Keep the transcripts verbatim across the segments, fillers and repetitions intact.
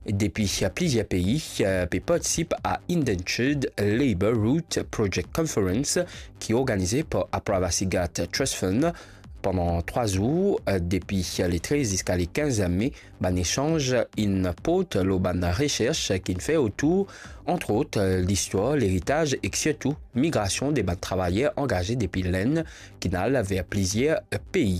depi plizier pei, eh, pe partisip a Indentured Labour Route Project Conference ki organize par Aprivacy Gate Trust Fund. Pandan trwa zour, eh, depi le trez ziska le kinz me, bann esanz inn port lor bann resers ki'nn fer otour, antrot, listwar, leritaz ek sirtou migrasion de bann travayer angaze depi Lenn ki'nn al ver plizier pei.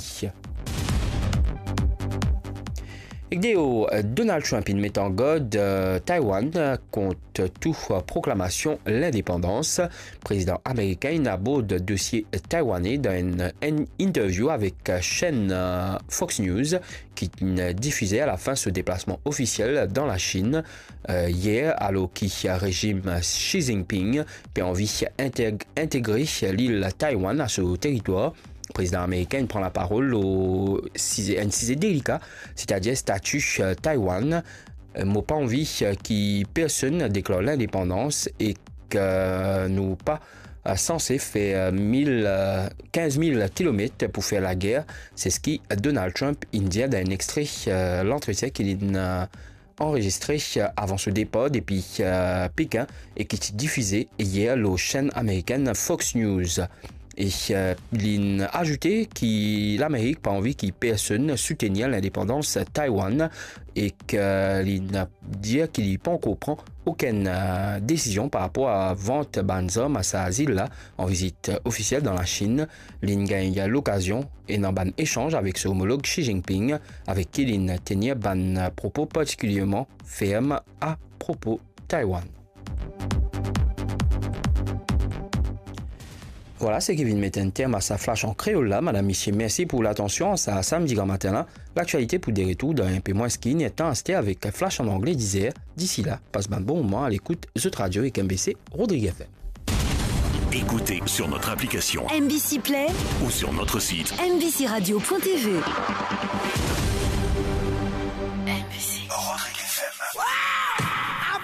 Ek deor, Donald Trump inn met an gard, eh, Taiwan, eh, kont tou, eh, proklamasion lindepandans. Prezidan amerikin inn abord dosie taiwanne dan enn, enn interview avek, eh, senn, eh, Fox News, ki'nn difize alafin so deplasman ofisiel dan Lasinn, eh, yer, alor ki rezim Xi Jinping pe anvi integ-, integre lil Taiwan a so teritwar. Prezidan amerikin pran laparol lor size, enn size delika, setadir stati, eh, Taiwan. Eh, mo pa anvi, eh, ki personn deklar lindepandans ek, eh, nou pa, eh, sanse fer, eh, mil, eh, kinz mil kilomet pou fer lager, se seki Donald Trump inn dir dan enn extre, eh, lantretien ki li'nn, eh, anrezistre, eh, avan so depar depi, eh, Pekin e ki ti difize yer lor senn amerikin Fox News. E, eh, li'nn azoute ki Lamerik pa anvi ki personn soutenir lindepandans Taiwan ek, eh, li'nn dir ki li pankor pran okenn, eh, desizion par rapor a vant bann zarm a sa zil la. An vizit ofisiel dan Lasinn, li'nn gagn lokazion ena bann esanz avek so omolog Xi Jinping, avek ki li'nn tenir bann propo partikilierman ferm apropo Taiwan. Vwala seki vinn met enn term a sa flash an kreol la. Madam, misie, mersi pou latansion. Sa samdi gramatin la, laktialite pou de retour dan enpe mwins ki innertan aster avek flash an angle dizer. Disi la, pas bann bon moman a lekout zot radio ek M B C Rodrigues F M. Écoutez sur notre application M B C Play ou sur notre site M B C radio point T V.